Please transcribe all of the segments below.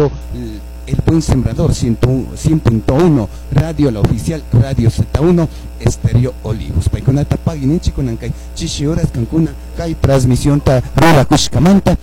El Buen Sembrador 100.1, Radio La Oficial, Radio Z1, Estéreo Olivos. Paykunata pagui ninchik kunan kay chishi horas kankuna kay transmisionta rurakushkamanta.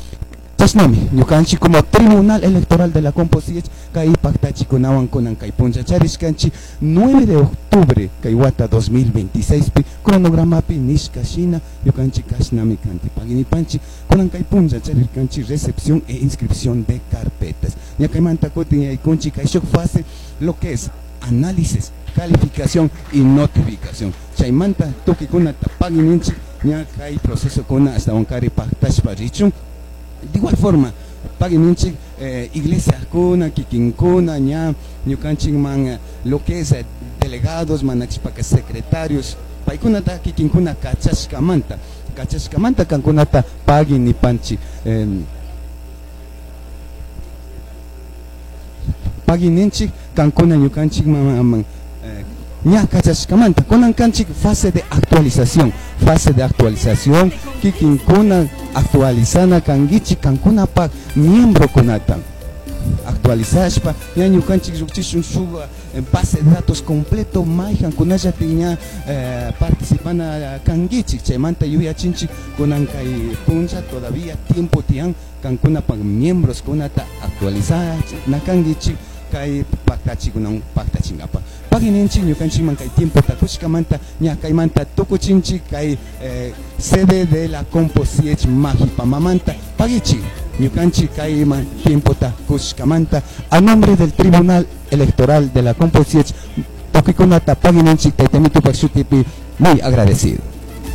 Chashnami ñukanchik como Tribunal Electoral de la Composich kay paktachikunawan kunan kay punlla charishkanchik 9 de octubre kay wata 2026 pi cronogramapi nishka shina ñukanchik kashnami kanti pagui nipanchik kunan kay punlla charirkanchik recepción e inscripción de carpetas. Ña kaymanta kutin yaykunchik kay shuk fase lo que es análisis, calificación y notificación. Chaymanta tukuykunata pagui ninchik ña kay proceso kuna ashtawankari paktashpa richun. De igual forma, pagui ninchik iglesia kuna, kikinkuna, ña ñukanchikman lo que es delegados, manachipaka secretarios, paykunata kikinkuna kachashkamanta, kachashkamanta kankunata pagui nipanchik. Pagui ninchik kankuna ñukanchik man ña kachashkamanta kunan kanchik fase de actualización, fase de actualización kikinkuna actualizana kankichik kankunapak miembro kunata actualizashpa ña ñukanchik llukchishun shuk base de datos completo mayjankunallatik ña participana kankichik. Chaymanta yuyachinchik kunan kay punlla todavía tiempo tiyan kankunapak miembros kunata actualizana kankichik kay paktachikunan paktachinkapak. Pagui ninchik ñukanchikman kay tiempo takushkamanta ña kaymanta tukuchinchik kay sede de la Composiech Majipamamanta. Paguichik ñukanchik kayman tiempo takushkamanta a nombre del Tribunal Electoral de la Composiech tukuykunata pagui ninchik tayta Mitupak shutipi muy agradecido.